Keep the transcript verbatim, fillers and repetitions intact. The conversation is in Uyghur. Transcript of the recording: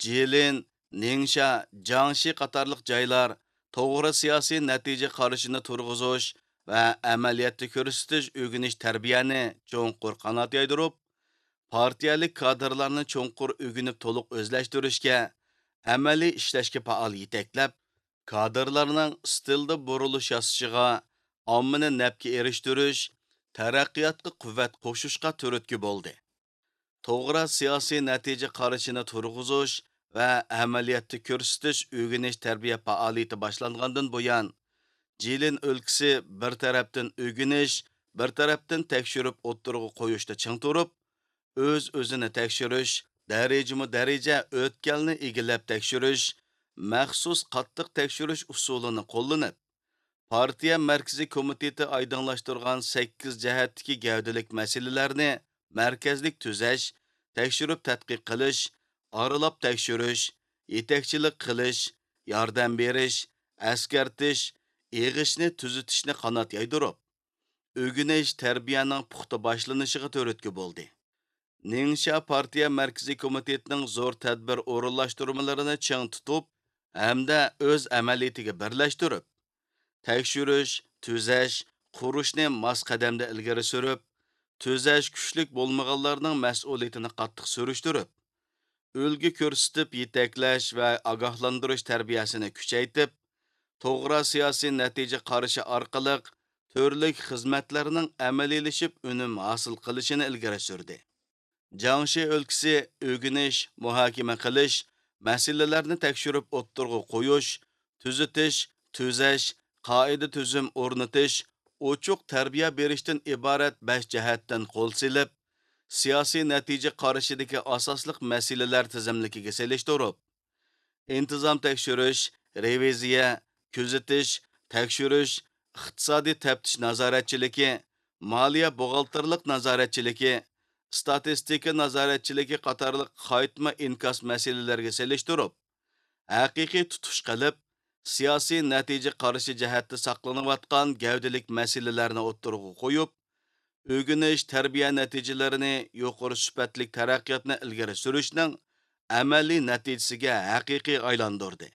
جىلىن، نىڭشيا، جياڭشى قاتارلىق جايلار توغرا سىياسىي نەتىجە قارىشىنى تۇرغۇزۇش ۋە ئەمەلىيەتتە كۆرسىتىش ئۆگىنىش تەربىيەنى چوڭقۇر قانات يايدۇرۇپ، پارتىيەلىك كادىرلارنى چوڭقۇر ئۆگىنىپ تولۇق ئۆزلەشتۈرۈشكە، ئەمەلىي ئىشلەشكە پائال يېتەكلەپ، كادىرلارنىڭ ئىستىلدا بۇرۇلۇش ياسىشىغا، ئاممىنى نەپكە ئېرىشتۈرۈش، تەرەققىياتقا قۇۋۋەت قوشۇشقا تۈرتكە بولدى. توغرا سىياسىي نەتىجە قارىشىنى تۇرغۇزۇش ۋە ئەمەلىيەتتە كۆرسىتىش ئۆگىنىش تەربىيە پائالىيىتى باشلانغاندىن بۇيان، جىلىن ئۆلكىسى بىر تەرەپتىن ئۆگىنىش، بىر تەرەپتىن تەكشۈرۈپ ئوتتۇرىغا قويۇشتا چىڭ تۇرۇپ، ئۆز-ئۆزىنى تەكشۈرۈش، دەرىجىمۇ دەرىجە ئۆتكەلنى ئىگىلەپ تەكشۈرۈش، مەخسۇس قاتتىق تەكشۈرۈش ئۇسۇلىنى قوللىنىپ، پارتىيە مەركىزىي كومىتېتى ئايدىڭلاشتۇرغان سەككىز جەھەتتىكى گەۋدىلىك مەسىلىلەرنى مەركەزلىك تۈزەش، تەكشۈرۈپ تەتقىق قىلىش، ئارىلاپ تەكشۈرۈش، يېتەكچىلىك قىلىش، ياردەم بېرىش، ئەسكەرتىش، ئېغىشنى تۈزىتىشنى قانات يايدۇرۇپ، ئۆگىنىش تەربىيەنىڭ پۇختا باشلىنىشىغا تۈرتكە بولدى. نىڭشيا پارتىيە مەركىزىي كومىتېتىنىڭ زور تەدبىر ئورۇنلاشتۇرمىلىرىنى چىڭ تۇتۇپ ھەمدە ئۆز ئەمەلىيىتىگە بىرلەشتۈرۈپ، تەكشۈرۈش، تۈزەش، قۇرۇشنى ماس قەدەمدە ئىلگىرى سۈرۈپ، تۈزەش كۈچلۈك بولمىغانلارنىڭ مەسئۇلىيىتىنى قاتتىق سۈرۈشتۈرۈپ، ئۈلگە كۆرسىتىپ يېتەكلەش ۋە ئاگاھلاندۇرۇش تەربىيەسىنى كۈچەيتىپ، توغرا سىياسىي نەتىجە قارىشى ئارقىلىق تۈرلۈك خىزمەتلەرنىڭ ئەمەلىيلىشىپ ئۈنۈم ھاسىل قىلىشىنى ئىلگىرى سۈردى. جياڭشى ئۆلكىسى ئۆگىنىش، مۇھاكىمە قىلىش، مەسىلىلەرنى تەكشۈرۈپ ئوتتۇرىغا قويۇش، تۈزىتىش، تۈزەش، قائىدە-تۈزۈم ئورنىتىش، ئوچۇق تەربىيە بېرىشتىن ئىبارەت بەش جەھەتتىن قول سېلىپ، سىياسىي نەتىجە قارىشىدىكى ئاساسلىق مەسىلىلەر تىزىملىكىگە سېلىشتۇرۇپ، ئىنتىزام تەكشۈرۈش، رېۋىزىيە، كۆزىتىش، تەكشۈرۈش، ئىقتىسادىي تەپتىش نازارەتچىلىكى، مالىيە بوغالتىرلىق نازارەتچىلىكى، ئىستاتىستىكا نازارەتچىلىكى قاتارلىق قايتما ئىنكاس مەسىلىلەرگە سېلىشتۇرۇپ، ھەقىقىي تۇتۇش قىلىپ، سىياسىي نەتىجە قارىشى جەھەتتە ساقلىنىۋاتقان گەۋدىلىك مەسىلىلەرنى ئوتتۇرىغا قويۇپ، ئۆگىنىش، تەربىيە نەتىجىلىرىنى يۇقىرى سۈپەتلىك تەرەققىياتنى ئىلگىرى سۈرۈشنىڭ ئەمەلىي نەتىجىسىگە ھەقىقىي ئايلاندۇردى.